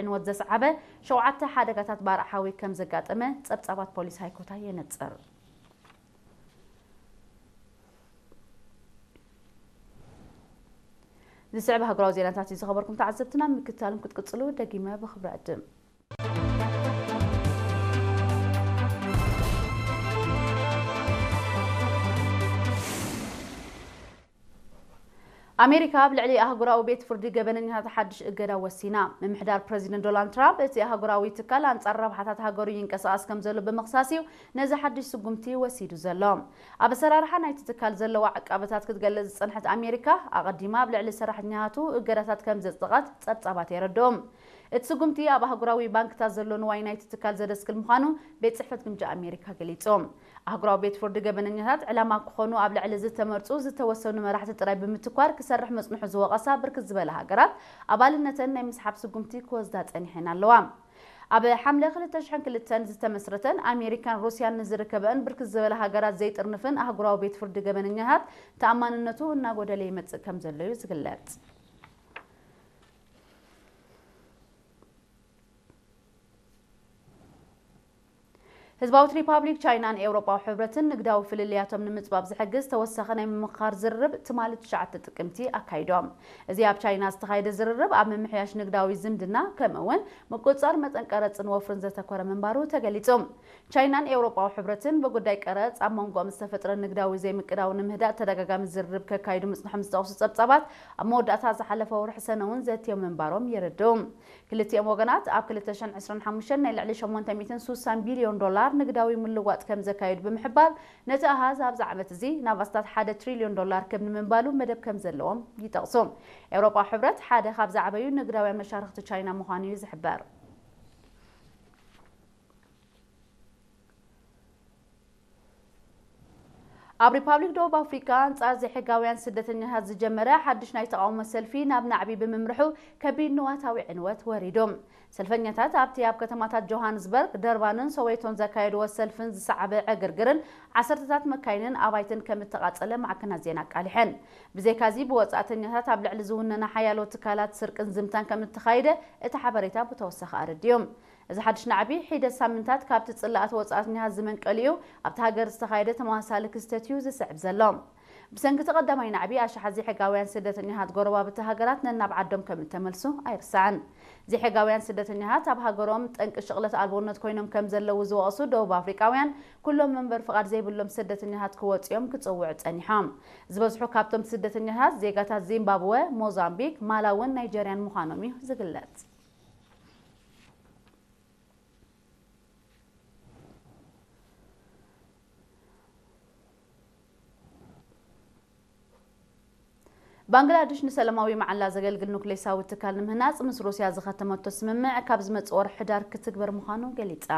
ዕንወት ዘስዓበ ሸውዓተ ሓደጋታት ባርዕ ሓዊ ከም ዘጋጠመ ጸብጻባት ፖሊስ ሃይኮታ የነጽር። ዝስዕብ ሃገራዊ ዜናታት እዩ ዝኸበርኩም ተዓዘብትና፣ ምክትታልም ክትቅጽሉ ደጊመ ብኽብሪ ዕድም። ኣሜሪካ ኣብ ልዕሊ ኣህጉራዊ ቤት ፍርዲ ገበነኛታት ሓድሽ እገዳ ወሲና። ምምሕዳር ፕረዚደንት ዶናልድ ትራምፕ፣ እቲ ኣህጉራዊ ትካል ኣንጻር ረብሓታት ሃገሩ ይንቀሳቐስ ከም ዘሎ ብምኽሳስ እዩ ነዚ ሓድሽ ስጉምቲ ወሲዱ ዘሎ። ኣብ ኣሰራርሓ ናይቲ ትካል ዘለዋ ዕቃበታት ክትገልጽ ዝጸንሐት ኣሜሪካ፣ ኣቐዲማ ኣብ ልዕሊ ሰራሕተኛታቱ እገዳታት ከም ዘጽደቐት ጸብጻባት የረድኡ። እቲ ስጉምቲ ኣብ ኣህጉራዊ ባንክታት ዘሎ ንዋይ ናይቲ ትካል ዘደስክል ምዃኑ ቤት ጽሕፈት ግምጃ ኣሜሪካ ገሊጹ። ኣህጉራዊ ቤት ፍርዲ ገበነኛታት ዕላማ ክኾኑ ኣብ ልዕሊ ዝተመርጹ ዝተወሰኑ መራሕቲ ጥራይ ብምትኳር ክሰርሕ ምጽንሑ ዝወቐሳ ብርክት ዝበላ ሃገራት፣ ኣባልነተን ናይ ምስሓብ ስጉምቲ ክወስዳ ጸኒሐን ኣለዋ። ኣብ ሓምለ ክልተ ሽሕን ክልተን ዝተመስረተን ኣሜሪካን ሩስያን ንዝርከበን ብርክት ዝበላ ሃገራት ዘይጥርንፍን ኣህጉራዊ ቤት ፍርዲ ገበነኛታት፣ ተኣማንነቱ እናጎደለ ይመጽእ ከም ዘሎ እዩ ዝግለጽ። ህዝባዊት ሪፓብሊክ ቻይናን ኤውሮጳዊ ሕብረትን ንግዳዊ ፍልልያቶም ንምጽባብ ዝሕግዝ ተወሳኺ ናይ ምምኽኻር ዝርርብ ትማሊ ትሽዓተ ጥቅምቲ ኣካይዶም። እዚ ኣብ ቻይና ዝተኻየደ ዝርርብ፣ ኣብ ምምሕያሽ ንግዳዊ ዝምድና፣ ከምኡ እውን ምቁጽጻር መጠን ቀረጽን ወፍርን ዘተኮረ ምንባሩ ተገሊጹ። ቻይናን ኤውሮጳዊ ሕብረትን ብጉዳይ ቀረጽ ኣብ መንጎኦም ዝተፈጥረ ንግዳዊ ዘይምቅዳው ንምህዳእ ተደጋጋሚ ዝርርብ ከካይዱ ምጽንሖም ዝጠቕሱ ጸብጻባት፣ ኣብ መወዳእታ ዝሓለፈ ወርሒ ሰነ እውን ዘትዮም ምንባሮም የረድኡ። ክልቲኦም ወገናት ኣብ ክልተ ሽሕን ዕስራን ሓሙሽተን ናይ ልዕሊ ሸሞንተ ሚእትን ሱሳን ቢልዮን ዶላር ንግዳዊ ምልዋጥ ከም ዘካየዱ ብምሕባር፣ ነቲ ኣሃዝ ኣብዚ ዓመት እዚ ናብ ኣስታት ሓደ ትሪልዮን ዶላር ክብ ንምንባሉ መደብ ከም ዘለዎም ይጠቕሱ። ኤውሮጳዊ ሕብረት ሓደ ካብ ዝዓበዩ ንግዳውያን መሻርኽቲ ቻይና ምዃኑ እዩ ዝሕበር። ኣብ ሪፓብሊክ ደቡብ ኣፍሪካ፣ ኣንጻር ዘይሕጋውያን ስደተኛታት ዝጀመረ ሓድሽ ናይ ተቓውሞ ሰልፊ ናብ ናዕቢ ብምምርሑ፣ ከቢድ ንዋታዊ ዕንወት ወሪዱ። ሰልፈኛታት ኣብቲ ኣብ ከተማታት ጆሃንስበርግ፣ ደርባንን ሶዌቶን ዘካየድዎ ሰልፍን ዝሰዓበ ዕግርግርን ዓሰርተታት መካይንን ኣባይትን ከም እተቓጸለ ማዕከናት ዜና ኣቃሊሐን። ብዘይካዚ፣ ብወጻእተኛታት ኣብ ልዕሊ ዝውነና ሓያሎ ትካላት ስርቅን ዝምታን ከም እተኻየደ እቲ ሓበሬታ ብተወሳኺ ኣረዲኡ። እዚ ሓድሽ ናዕቢ፣ ሒደት ሳምንታት ካብቲ ጽላኣት ወጻእተኛታት ዝመንቀሊኡ ኣብቲ ሃገር ዝተኻየደ ተመሳሳሊ ክስተት እዩ ዝስዕብ ዘሎ። ብሰንኪ እቲ ቀዳማይ ናዕቢ፣ ኣሽሓት ዘይሕጋውያን ስደተኛታት ጎረባብቲ ሃገራት ነናብ ዓዶም ከም እተመልሱ ኣይርሳዕን። ዘይሕጋውያን ስደተኛታት ኣብ ሃገሮም ጠንቂ ሽቕለት ኣልቦነት ኮይኖም ከም ዘለዉ ዝወቐሱ ደቡብ ኣፍሪቃውያን፣ ኩሎም መንበሪ ፍቓድ ዘይብሎም ስደተኛታት ክወጽኦም ክጽውዑ ጸኒሖም። ዝበዝሑ ካብቶም ስደተኛታት ዜጋታት ዚምባብወ፣ ሞዛምቢክ፣ ማላውን ናይጀርያን ምዃኖም እዩ ዝግለጽ። ባንግላድሽ ንሰላማዊ መዓላ ዘገልግል ኑክሌሳዊ ትካል ንምህናጽ ምስ ሩስያ ዝኸተመቶ ስምምዕ ካብ ዝመጽእ ወርሒ ሕዳር ክትግበር ምዃኑ ገሊጻ።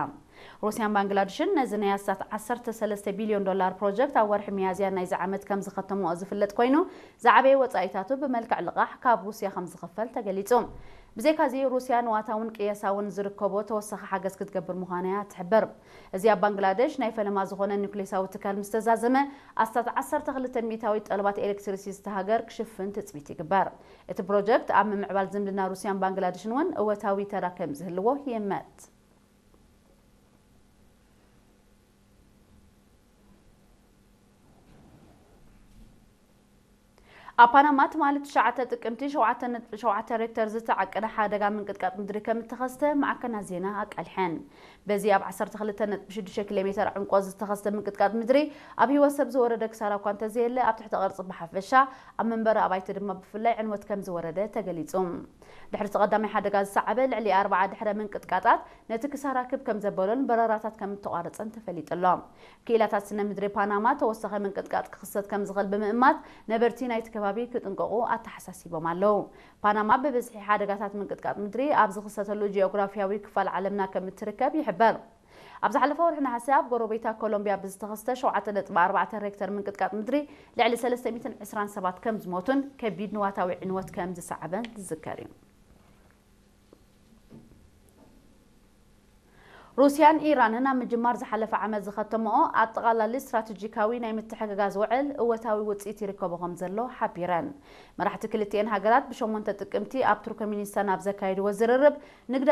ሩስያን ባንግላድሽን ነዚ ናይ ኣስታት ዓሰርተ ሰለስተ ቢልዮን ዶላር ፕሮጀክት ኣብ ወርሒ ሚያዝያ ናይዚ ዓመት ከም ዝኸተምኦ ዝፍለጥ ኮይኑ፣ ዝዓበየ ወጻኢታቱ ብመልክዕ ልቓሕ ካብ ሩስያ ከም ዝኽፈል ተገሊጹ። ብዘይካዚ፣ ሩስያ ንዋታውን ቅየሳውን ዝርከቦ ተወሳኺ ሓገዝ ክትገብር ምዃና እያ ትሕብር። እዚ ኣብ ባንግላደሽ ናይ ፈለማ ዝኾነ ኑክሌሳዊ ትካል ምስ ተዛዘመ፣ ኣስታት ዓሰርተ ክልተ ሚእታዊት ጠለባት ኤሌክትሪሲቲ እታ ሃገር ክሽፍን ትጽቢት ይግበር። እቲ ፕሮጀክት ኣብ ምምዕባል ዝምድና ሩስያን ባንግላደሽን እውን እወታዊ ተራ ከም ዝህልዎ ይእመት። ኣብ ፓናማ ትማሊ ትሽዓተ ጥቅምቲ ሸውዓተ ነጥቢ ሸውዓተ ሬክተር ዝተዓቀነ ሓደጋ ምንቅጥቃጥ ምድሪ ከም እተኸስተ ማዕከናት ዜና ኣቃሊሐን። በዚ ኣብ ዓሰርተ ክልተ ነጥቢ ሽዱሽተ ኪሎ ሜተር ዕምቆት ዝተኸስተ ምንቅጥቃጥ ምድሪ ኣብ ህይወት ሰብ ዝወረደ ክሳራ እኳ እንተዘየለ፣ ኣብ ትሕቲ ቅርጺ ብሓፈሻ፣ ኣብ መንበሪ ኣባይቲ ድማ ብፍላይ ዕንወት ከም ዝወረደ ተገሊጹ። ድሕሪ እቲ ቀዳማይ ሓደጋ ዝሰዓበ ልዕሊ ኣርብዓ ድሕረ ምንቅጥቃጣት፣ ነቲ ክሳራ ክብ ከም ዘበሎን በረራታት ከም እተቋረጸን ተፈሊጡ ኣሎ። ክኢላታት ስነ ምድሪ ፓናማ ተወሳኺ ምንቅጥቃጥ ክኽሰት ከም ዝኽእል ብምእማት፣ ነበርቲ ናይቲ ከባቢ ክጥንቀቑ ኣተሓሳሲቦም ኣለዉ። ፓናማ ብብዝሒ ሓደጋታት ምንቅጥቃጥ ምድሪ ኣብ ዝኽሰተሉ ጂኦግራፊያዊ ክፋል ዓለምና ከም እትርከብ ይሕበር። ኣብ ዝሓለፈ ወርሒ ነሓሰ ኣብ ጎረቤታ ኮሎምቢያ ብዝተኸስተ ሸውዓተ ነጥቢ ኣርባዕተ ሬክተር ምንቅጥቃጥ ምድሪ ልዕሊ ሰለስተ ሚእትን ዕስራን ሰባት ከም ዝሞቱን ከቢድ ንዋታዊ ዕንወት ከም ዝሰዓበን ዝዝከር እዩ። ሩስያን ኢራንን ኣብ ምጅማር ዝሓለፈ ዓመት ዝኸተምኦ ኣጠቓላሊ ስትራቴጂካዊ ናይ ምትሕግጋዝ ውዕል እወታዊ ውጽኢት ይርከቦ ከም ዘሎ ሓቢረን። መራሕቲ ክልቲኤን ሃገራት ብሸሞንተ ጥቅምቲ ኣብ ቱርክሚኒስታን ኣብ ዘካየድዎ ዝርርብ፣ ንግዲ